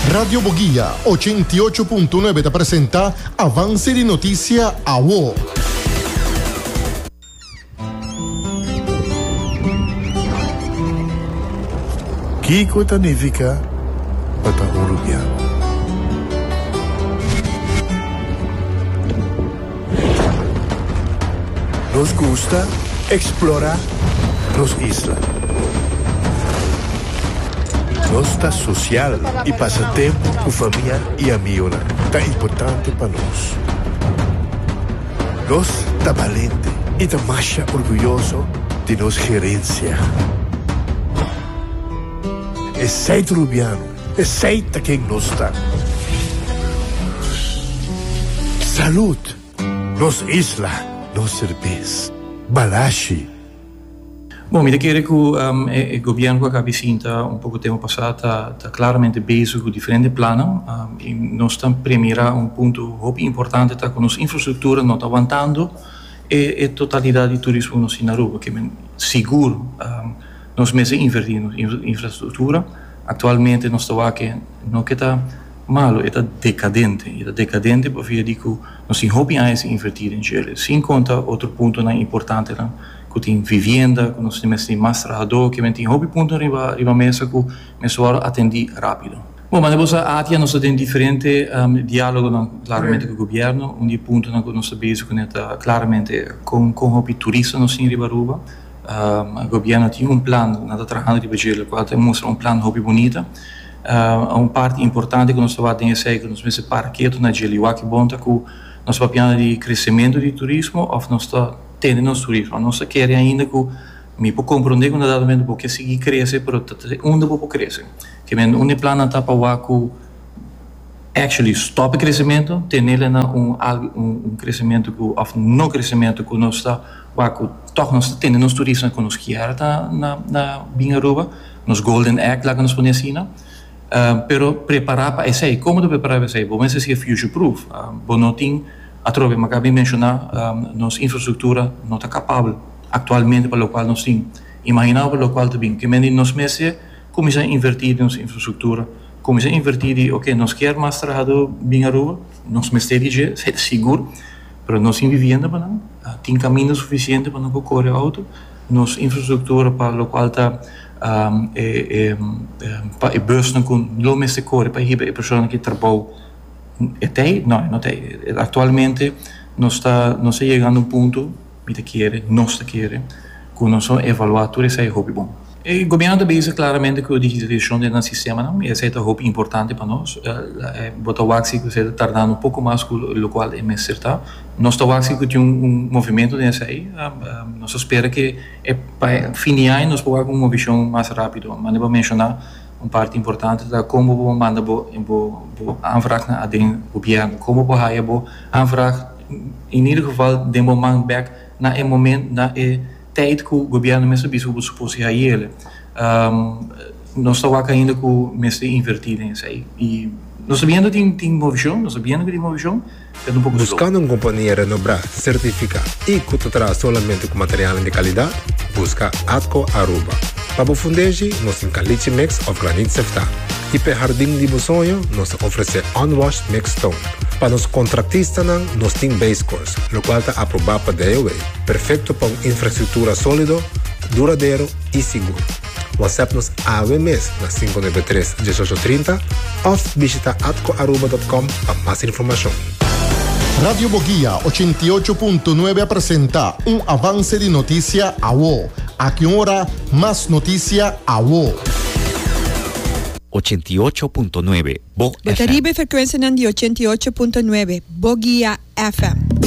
Radio Boguia 88.9 ta presenta Avance di Noticia Awo. Kiko ta nifica pa ta un Rubiano? Nos gusta explora nos isla. Nos ta social y pasa tempo cu famia y amigonan ta importante pa nos. Nos ta balente y ta masha orguyoso di nos gerencia. Esey ta Rubiano, esey ta ken nos ta. Salud! Nos isla, nos serbes. Balashi. Bon, mi ta kere ku e gobièrnu ku a kabi sinta un poko tempu pasá ta ta klaramente bezig ku diferente plannan i nos ta premirá un punto hopi importante ta ku nos infrastruktura no ta wantando e e totalidat di turismo ku nos tin na Aruba. Ke men sigur nos mester invertí den nos infrastruktura. Aktualmente nos ta wak ke no ke ta malo, e ta dekadente. E ta dekadente pabia di ku nos tin hopi aña sin invertí den djele, sin konta otro puntonan importantenan. Ku tin vivienda, ku nos mester tin mas trahadó, ke men tin hopi punto riba riba mesa ku mester wòrdu atendí rápido. Bon, manera bo sa ATIA nos ta den diferente diálogonan klaramente ku gobièrnu. Un di e puntonan ku nos ta bezig kuné ta klaramente kon kon hopi turista nos tin riba Aruba. Gobièrnu tin un plan, nan ta trahando riba dje, lokual ta mustra un plan hopi bunita. Un parti importante ku nos ta wak den esei ku nos mester para ketu na dje liwak bon ta ku nos ta papiando di kresementu di turismo òf nos ta Tene nos turismo. Nos ta kere ainda ku mi por komprondé ku na dado momento bo ke sigui krese pero ta te unda bo por krese. Ke men un e plannan ta pa wak ku actually stòp e kresementu, tenele na un algu un kresementu ku òf no kresementu ku nos ta wak ku tòg nos ta tene nos turismo ku nos kier ta na na bin Aruba, nos golden egg laga nos pone asina. Pero prepará pa esei. Komo ta prepará pa esei? Bo mester siga future proof. Bo no tin. Atrobe, mi a kabi menshoná, nos infrastruktura no ta kapabel aktualmente pa lokual nos tin. Imaginá bo pa lokual ta bin. Ke mende nos mester kuminsá invertí den nos infrastruktura, kuminsá invertí di oke nos kier mas trahadó bin Aruba, nos mester di dje, esei ta sigur, pero nos tin vivienda pa nan, tin kaminda sufisiente pa nan por kore outo, nos infrastruktura pa lokual ta e pa e busnan ku lo mester kore pa hiba e personanan ki trabou. E t'ei? No, e no t'ei. Aktualmente nos ta nos ta yegando un punto, mi ta kere, nos ta kere, ku nos lo evaluá tur esei hopi bon. E gobièrnu ta bisa klaramente ku digitalisashon den nan sistemanan i esei ta hopi importante pa nos. Bo ta wak si ku esei ta tardando un poko mas ku lokual e mester ta. Nos ta wak si ku tin un movimentu den esei. Nos ta spera ke e pa fin di aña nos por wak un movishon mas rápido. Mane bo menshoná. Un parti importante ta kon bo por manda bo bo aanvraag na aden gobièrnu, kon bo por haya bo aanvraag in ieder geval den bo man bèk na e moment na e tijd ku gobièrnu mes a bisa ku bo supos hayele. Nos ta wak ainda ku mester invertí den esei i nos ta biendo tin tin movishon, nos ta biendo ku tin movishon. Buscando un compania renobrá, certificá y cu ta traha solamente cu materialnan di calidad? Busca Atco Aruba. Pa bo fundeshi, nos tin caliche mix of granit seftá. Y p'e hardin di bo soño, nos ta ofrecé unwashed mixed stone. Pa nos contractistanan, nos tin base course, locual ta aprobá pa DOW, perfecto pa un infrastructura solido, duradero y sigur. WhatsApp nos awe mes na 593 1830 of bishita atcoaruba.com pa mas informacion. Radio Boguia 88.9 a presenta un avance di noticia awo. Aki un ora, mas noticia awo. 88.9 Bo Bo ta FM. riba e frekuensianan di 88.9 Boguia FM.